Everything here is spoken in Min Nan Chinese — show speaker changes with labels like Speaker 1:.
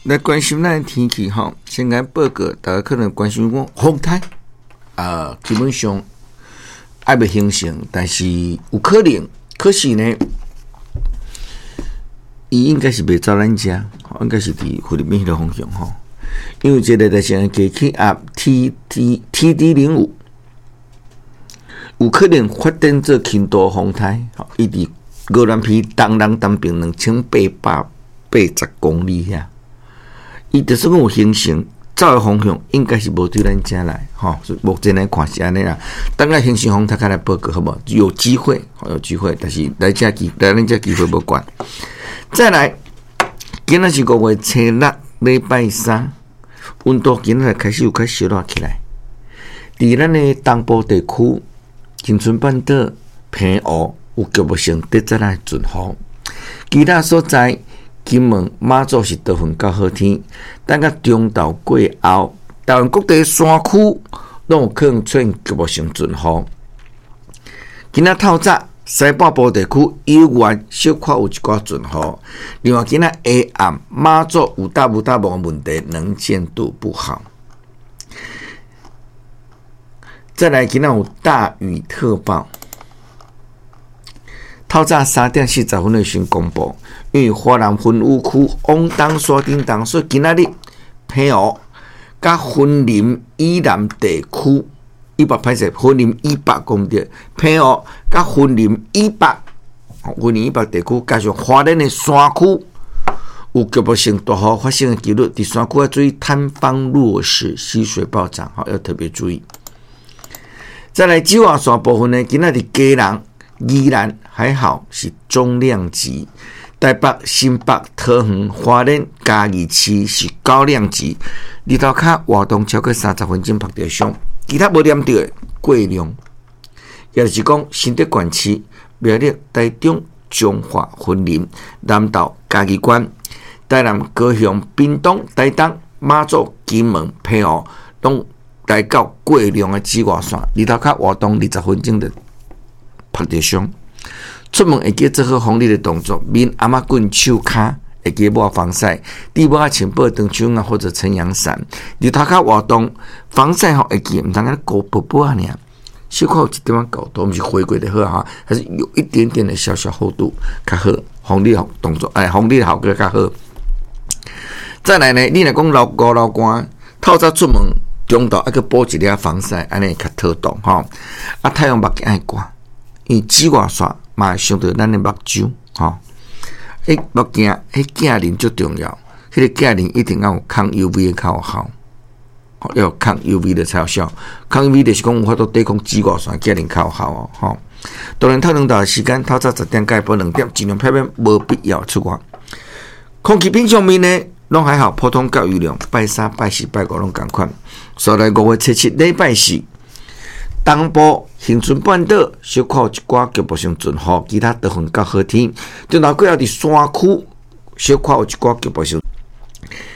Speaker 1: 來關心咱的天氣吼，先來報告，大家可能關心講風颱啊，基本上還未形成，但是有可能，可是呢，伊應該是袂走咱遮，應該是佇菲律賓彼个方向吼。因為這個熱帶性低氣壓 TD 05有可能發展做輕度風颱，伊佇鵝鑾鼻東南東邊2880公里遐。伊就是講有形成，走的方向應該是無對咱遮來，吼。目前來看是按呢啦。等下形成風颱較來報告好無？有機會，有機會，但是來咱遮機會無懸。再來，今仔是5月初6，禮拜三，溫度今仔開始有較燒熱起來。佇咱的東部地區，恆春半島、澎湖有局部性短暫的陣雨，其他所在，金門、馬祖是多雲到好天，等到中晝過後，台灣各地山區攏有可能出現局部性陣雨。今仔透早西半部地區有緣小可有一寡陣雨。另外，今仔下暗馬祖有搭無搭霧的問題，能見度不好。再來，今仔有大雨特報。透早3點40分的時公布，因為華南雲雨區往東山頂東，所以今仔日澎湖佮雲林以南地區，以北歹勢，雲林以北講著，澎湖佮雲林以北，雲林以北地區加上花蓮的山區，有局部性大雨發生的幾率，佇山區要注意坍方落石、溪水暴漲，要特別注意。再來紫外線部分呢，今仔日基隆、宜蘭還好是中量級，台北、新北、桃園、花蓮、嘉義市是高量級。日頭跤活動超過30分鐘曝著傷，其他無黏著的過量，也就是講新竹縣市、苗栗、台中、彰化、雲林、南投、嘉義縣、台南、高雄、屏東、台東、馬祖、金門、澎湖，攏來到過量的紫外線。日頭跤活動20分鐘就曝著傷。出門會記做好防日的動作，面、頷仔骨、手跤會記抹防曬，戴帽仔穿薄長袖啊或者撐陽傘。日頭跤活動防曬吼會記，毋通按呢糊薄薄仔爾，小可有一點仔厚度，毋是回歸就好哈，還是有一點點的小小厚度較好，防日動作，哎，防日效果較好。再來呢，你若講流五流汗，透早出門中晝愛閣補一粒防曬，按呢會較妥當吼。啊，太陽目鏡愛掛，因為紫外線嘛會傷著咱的目睭吼。彼目鏡，彼鏡面足重要，彼個鏡面一定要有抗 UV 的較有效，要有抗 UV 的才有效。抗 UV 就是講有法度抵抗紫外線，鏡面較有效哦。吼，當然透兩大時間，透早10點到下晡2點，盡量避免無必要出外。空氣品上面呢，攏還好，普通到優良，拜三、拜四、拜五攏仝款。所來5月初7禮拜四，東部恆春半島小可有一寡局部性陣雨，其他多雲到好天。中晝過後佇山區小可有一寡局部性。